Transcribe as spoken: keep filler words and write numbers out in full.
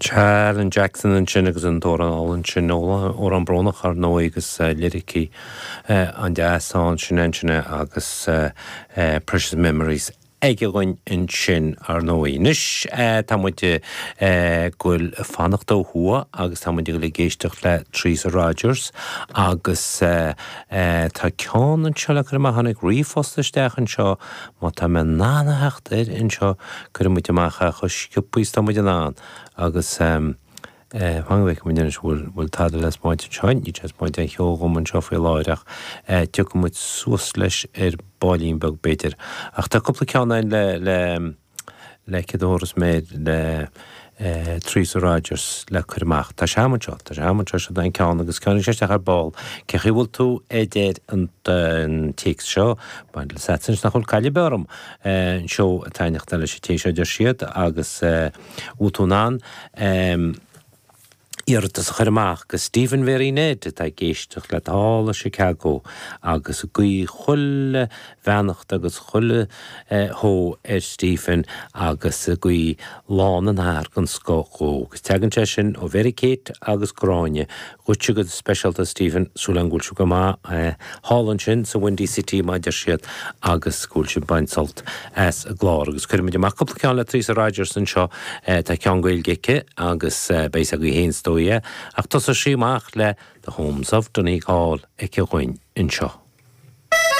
Alan Jackson ansin agus an t-amhrán álainn sin amhrán brónach ar ndóigh agus liricí an-deas ansin ansin agus Precious Memories aige dhúinn ansin ar ndóigh. Anois tá muid ag goil fanacht ó thuaidh agus tá muid ag goil ag éisteacht le Teresa Rogers agus tá ceann anseo le cur amach tháinig ríomhphost isteach anseo má tá mé in ann a theacht air anseo cuirfidh muid amach é chomh sciobtha is tá muid in ann agus fan go bhfeicfidh muid anois bhfuil bhfuil tada le spáint anseo, níl sé ag spáint aon cheo dhom anseo faoi láthair ach tiocfaidh muid suas leis ar baillín beag b'fhéidir. Ach tá cúpla ceann ann le le le céard a thabharfas mé le Teresa Rogers le cur amach. Tá sé agam anseo, tá sé agam anseo, seo an ceann agus ceann sé isteach ar ball. Cé chaoi bhfuil tú a deir an téacs seo, bain le sats anois nach bhfuil caill ar bith orm an seó ag taitneacht leis an té seo deir siad agus bhfuil tú in ann iarratas a chur amach go Stephen Mhary Ned atá ag éisteacht leat thall i Chicago agus ag guí chuile bheannacht agus chuile shó ar Stephen agus ag guí Lá na nAthar den scoth dhó. Agus tagann sé sin ó Mhary Kate agus Gráinne. Dhuitse go speisialta Stephen, súil agam go bhfuil sibh go maith thall ansin sa Windy City mar a deir siad agus go bhfuil sibh ag baint sult as an gclár. Agus cuirfimid amach cúpla ceann le Teresa Rogers anseo, tá ceann Gaeilge aici agus beidh sé agaibh féin is dóigh ach tosóidh sí amach le The Homes of Donegal aici dhúinn anseo.